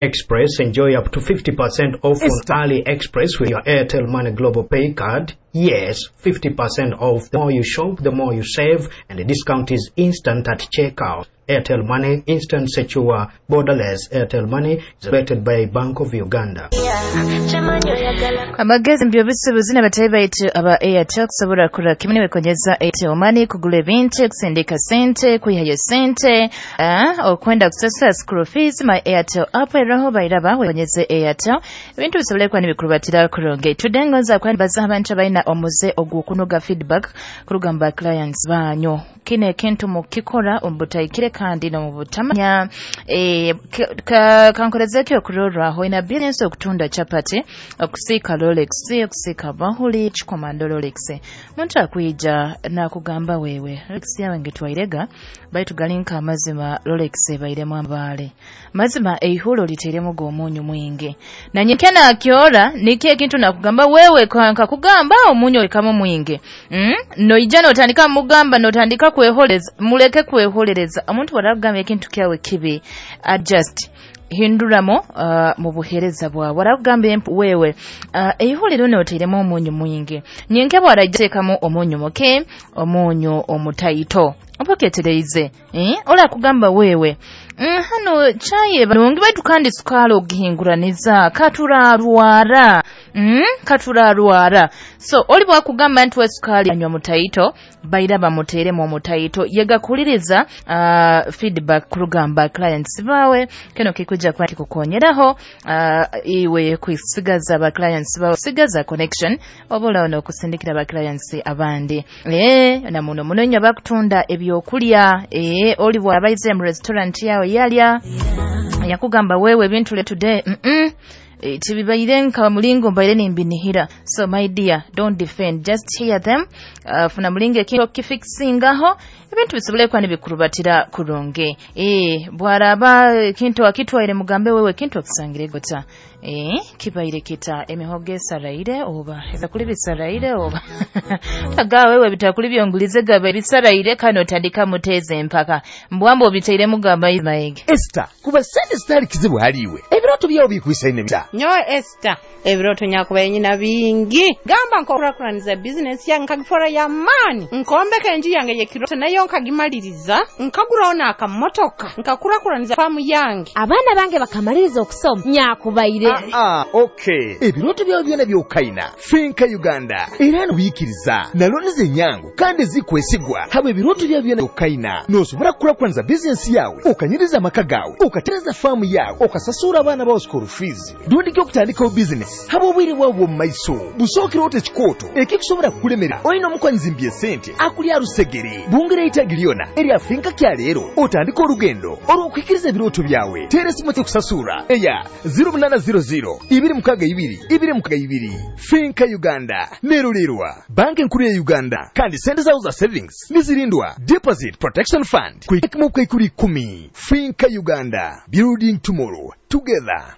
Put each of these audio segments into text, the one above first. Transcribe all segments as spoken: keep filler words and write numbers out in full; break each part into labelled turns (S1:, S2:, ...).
S1: Express, enjoy up to fifty percent off on AliExpress with your Airtel Money Global Pay card. Yes, fifty percent off. The more you shop, the more you save, and the discount is instant at checkout. Airtel Money, instant, secure, borderless. Airtel Money is rated by Bank of Uganda.
S2: Amagezi mu by'obusuubuzi n'abatayi baitu aba Airtel kusobora kurora kimu nibekonyeza Airtel Money kugura ebintu, kusindika sente, kwihayo sente, ah, okwenda kusasura school fees. My Airtel app eroho, bairaba wekonyeze Airtel, ebintu bisobole kuba nibikurubatira kurungi. Today ngonza kubaza abantu abalina omuze ogw'okunuga feedback kuruga mu ba clients banyu. Kino ekintu mukikora omu butahikire kandi n'omu butamanya. eh, kankorezeko okurorwaho ina business okutunda chapati, okusiika rolex, okusiika bahuli kikomando rolex. Muntu akwija nakugamba, "Wewe, Rolex yawe ngetwairega, baitu galinka amazima Rolex ebairemu amabaale, mazima eihulo liteiremu g'omunyu mwingi." Nanyeke nakyora nikyo ekintu nakugamba, "Wewe, nkakugamba omunyu olikamu mwingi." mm? Noija notandika mugamba, notandika kweholeza. Muleke kweholereza. Omuntu bwarakugamba ekintu kyawe kibi, adjust, hinduramo uh, mu buhereza bwawe. Warakugamba, "Wewe, uh, eihuliro noteiremu omunyu mwingi," nyenke bwarajja teekamu omunyu muke, omunyu omutaito, oba oketereize, eh? Orakugamba, "Wewe, mm, hano chayi nungi, baitu kandi sukaali ogihinguraniza, katurarwara, mm, katurarwara." So oli bwakugamba nti wesukaali anywa mutaito, baira bamuteeremu omutaito. Yegakuliriza uh, feedback kurugamba clients bawe. Kino kikuja kuba kikukonyeraho uh, iwe kwisigaza ba clients bawe, sigaza connection, oba n'okusindikira ba clients abandi. Eh, na muno muno nnyo bakutunda ebyokulya. Eh, oli bw'abaize mu restaurant yawe yalya, yakugamba, "Wewe, ebintu le today mm -mm. E, tibibaire nka mulingo mbaire nimbinihira." So my dear, don't defend, just hear them. uh, funa mulingo ekintu okifixingaho, ebintu bisobole kuba nibikurubatira kurungi. e, bwaraba ekintu akitwaire, mugambe, "Wewe, ekintu okisangire gota, e, kibaire kita, emihogo esaraire oba ebakuli bisaraire oba aga wewe bitakuli byongulize gaba bisaraire." Kano otandika muteeza empaka mbwamba obiteiremu gamba maege.
S3: Esther, kuba sente zitali kizibu haliwe, ebirooto byawo bikwisaine bita?
S4: Nyowe Esther, ebirooto nyakubaye nyina bingi. Gamba nkokurakuraniza bizinesi yange, nkagifora y'amaani, nkombeka enju yange y'ekirooto nayo nkagimaliriza, nkaguraho n'akamotoka, nkakurakuraniza faamu yange.
S5: Abaana bange bakamaliriza okusoma, nyakubaire.
S3: Ah, okay, ebirooto byawe byona byokaina Finca Uganda era nobiyikiriza na looni zenyangu kandi ezikwesigwa. Haba ebirooto byawe byona byokaina, nosobora kukurakuraniza bizinesi yawe, okanyiriza amaka gawe, okatereza faamu yawe, okasasura abaana bawe school fees, rundi okutandikawo bizinesi. Haba obwire bwawe bw'omu maiso busookera ota ekikooto ekikusobola kukulemera. Olina omukwanyizi esente akulya rusegere bungira eitagi lyona erya Finca kyaleero, otandika olugendo olw'okuhikiriza ebirooto byawe. Teera esimu ekusasura eya zero munaana zero zero ibiri mukaaga ibiri ibiri mukaaga ibiri. Finca Uganda nerulirwa Banka Enkuru ya Uganda, kandi sente zawo za savings nizirindwa Deposit Protection Fund kuikimu kaikuri ikumi. Finca Uganda, building tomorrow together.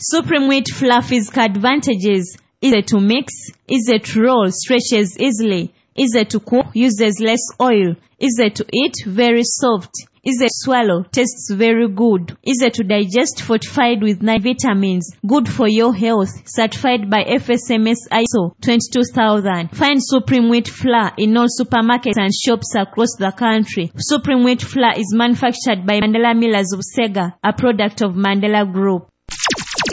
S6: Supreme Wheat Fluffy's advantages: easy to mix, easy to roll, stretches easily, easy to cook, uses less oil, easy to eat, very soft, easy to swallow, tastes very good, easy to digest, fortified with nine vitamins, good for your health, certified by F S M S I S O twenty-two thousand. Find Supreme Wheat Flour in all supermarkets and shops across the country. Supreme Wheat Flour is manufactured by Mandela Millers of Sega, a product of Mandela Group.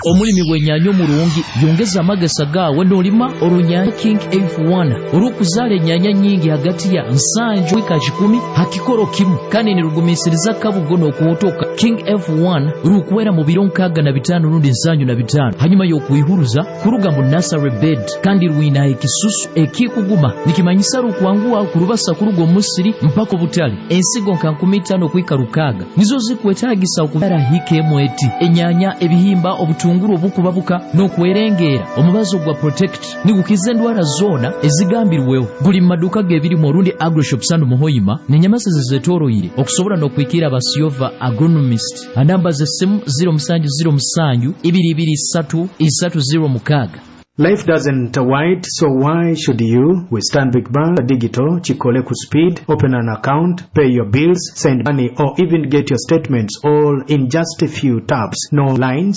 S7: Omulimi bw'ennyaanya omulungi yongeza amagesa gaawe n'olima olunyaanya King F one olw'okuzaala ennyaanya nnyingi hagati ya nsanju wika kikumi ha kikoro kimu, kandi nirugumiisiriza kabugo n'okuwotoka. King F one rukwera mu biro nkaaga na bitaano rundi nsanju na bitaano hanyuma y'okwihuruza kuruga mu nursery bed, kandi rwina ekisusu ekikuguma, nikimanyisa rukwanguha kurubasa kuruga omusiri mpaka obutale. Ensigo nka nkumi itaano okwika rukaaga nizo zikwetaagisa okubyara hika emu eti enyaanya, ebihimba, obutunguru obukubabuka n'okwerengeera. Omubazo gwa Protect nigukiza endwara zoona ezigambirweho. Guli mu maduuka g'ebirimu orundi Agroshop Sandu Muhoyima n'enyamasezi zetoroire, okusobola n'okwikira abasiova agronomist. Anamba z'essimu zero musanju zero musanju ibiri ibiri isatu isatu zero mukaaga.
S1: Life doesn't wait, so why should you? With Stanbic Bank Digital, Chikole ku speed, open an account, pay your bills, send money, or even get your statements all in just a few taps. No lines,